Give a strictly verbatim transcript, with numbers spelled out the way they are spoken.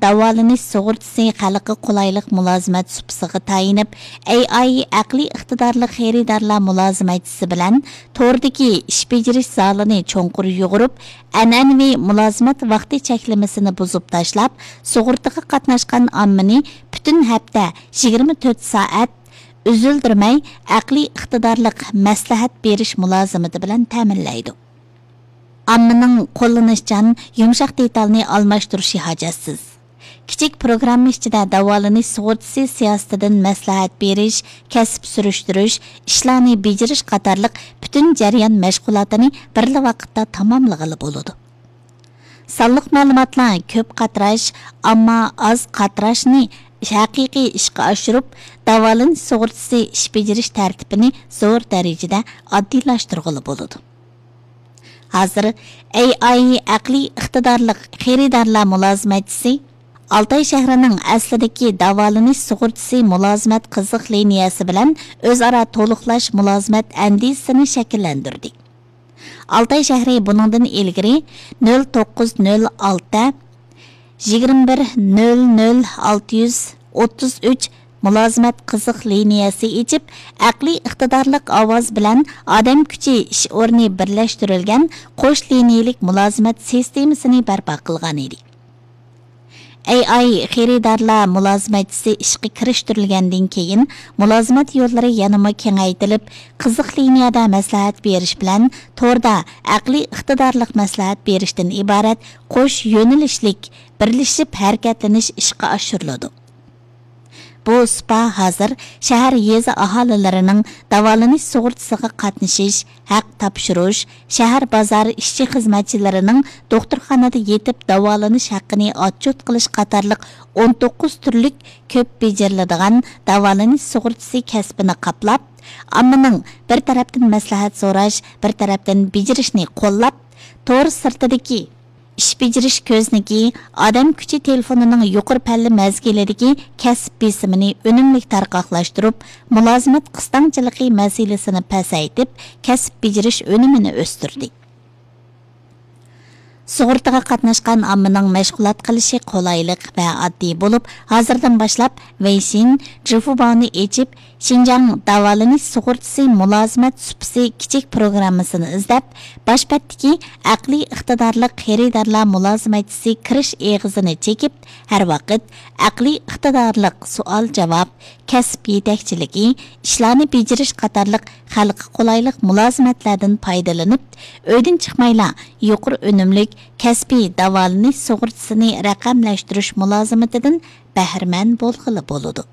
داۋالىنىش سۇغۇرتىسى خەلققە قولايلىق مۇلازىمەت سۇپىسىغا تايىنىپ، ئەي ئاي ئەقلىي ئىقتىدارلىق خېرىدارلار مۇلازىمەتچىسى بىلەن توردىكى ئىش بېجىرىش زالىنى چوڭقۇر يۇغۇرۇپ، ئەنئەنىۋى مۇلازىمەت ۋاقتى چەكلىمىسىنى بۇزۇپ تاشلاپ، سۇغۇرتىغا قاتناشقان ئاممىنى پۈتۈن ھەپتە يىگىرمە تۆت سائەت ئۈزۈلدۈرمەي ئەقلىي ئىقتىدارلىق مەسلىھەت بېرىش مۇلازىمىتى بىلەن تەمىنلەيدۇ. ئاممىنىڭ قوللىنىشچان، يۇمشاق دېتالنى ئالماشتۇرۇشى ھاجەتسىز. كىچىك پروگرامما ئىچىدە داۋالىنىش سۇغۇرتىسى سىياسىتىدىن مەسلىھەت بېرىش، كەسىپ سۈرۈشتۈرۈش، ئىشلارنى بېجىرىش قاتارلىق پۈتۈن جەريان مەشغۇلاتىنى بىرلا ۋاقىتتا تاماملىغىلى بولىدۇ. سانلىق مەلۇماتلار كۆپ قاتراش، ئامما ئاز قاتراشنى ھەقىقىي ئىشقا ئاشۇرۇپ، داۋالىنىش سۇغۇرتىسى ئىش بېجىرىش تەرتىپىنى زور دەرىجىدە ئاددىيلاشتۇرغىلى بولىدۇ. ھازىر ئەي ئاي ئەقلىي ئىقتىدارلىق خېرىدارلار مۇلازىمەتچىسى ئالتاي شەھىرىنىڭ ئەسلىدىكى داۋالىنىش سۇغۇرتىسى مۇلازىمەت قىزىق لىنىيەسى بىلەن ئۆزئارا تولۇقلاش مۇلازىمەت ئەندىزىسىنى شەكىللەندۈردى. ئالتاي شەھىرى بۇنىڭدىن ئىلگىرى نۆل توققۇز نۆل ئالتە، يىگىرمە بىر نۆل نۆل ئالتە يۈز ئوتتۇز ئۈچ مۇلازىمەت قىزىق لىنىيەسى ئېچىپ، ئەقلىي ئىقتىدارلىق ئاۋاز بىلەن ئادەم كۈچى ئىش ئورنى بىرلەشتۈرۈلگەن قوش لىنىيەلىك مۇلازىمەت سىستېمىسىنى بەرپا قىلغان ئىدى. ئەي ئاي خېرىدارلار مۇلازىمەتچىسى ئىشقا كىرىشتۈرۈلگەندىن كېيىن، مۇلازىمەت يوللىرى يەنىمۇ كېڭەيتىلىپ، قىزىق لىنىيەدە مەسلىھەت بېرىش بىلەن توردا ئەقلىي ئىقتىدارلىق مەسلىھەت بېرىشتىن ئىبارەت قوش يۆنىلىشلىك بىرلىشىپ ھەرىكەتلىنىش ئىشقا ئاشۇرۇلىدۇ. بۇ سۇپا ھازىر شەھەر، يېزا ئاھالىلىرىنىڭ داۋالىنىش سۇغۇرتىسىغا قاتنىشىش، ھەق تاپشۇرۇش، شەھەر، بازار ئىشچى-خىزمەتچىلىرىنىڭ دوختۇرخانىدا يېتىپ داۋالىنىش ھەققىنى ئاتچوت قىلىش قاتارلىق ئون توققۇز تۈرلۈك كۆپ بېجىرىلىدىغان داۋالىنىش سۇغۇرتىسى كەسپىنى قاپلاپ، ئاممىنىڭ بىر تەرەپتىن مەسلىھەت سوراش، بىر تەرەپتىن بېجىرىشنى قوللاپ، تور سىرتىدىكى ئىش بېجىرىش كۆزنىكى، ئادەم كۈچى تېلېفونىنىڭ يۇقىرى پەللە مەزگىلىدىكى كەسىپ بېسىمىنى ئۈنۈملۈك تارقاقلاشتۇرۇپ، مۇلازىمەت قىستاڭچىلىقى مەسىلىسىنى پەسەيتىپ، كەسىپ بېجىرىش ئۈنۈمىنى ئۆستۈردى. سۇغۇرتىغا قاتناشقان ئاممىنىڭ مەشغۇلات قىلىشى قولايلىق ۋە ئاددىي بولۇپ، ھازىردىن باشلاپ ۋېيشىن، جىفۇباۋنى ئېچىپ، شىنجاڭ داۋالىنىش سۇغۇرتىسى مۇلازىمەت سۇپىسى كىچىك پروگراممىسىنى ئىزدەپ، باش بەتتىكى ئەقلىي ئىقتىدارلىق خېرىدارلار مۇلازىمەتچىسى كىرىش ئېغىزىنى چېكىپ، ھەر ۋاقىت ئەقلىي ئىقتىدارلىق سوئال-جاۋاب، كەسىپ يېتەكچىلىكى، ئىشلارنى بېجىرىش قاتارلىق خەلققە قولايلىق مۇلازىمەتلەردىن پايدىلىنىپ، ئۆيدىن چىقمايلا يۇقىرى ئۈنۈملۈك كەسپىي داۋالىنىش سۇغۇرتىسىنى رەقەملەشتۈرۈش مۇلازىمىتىدىن بەھرىمەن بولغىلى بولىدۇ.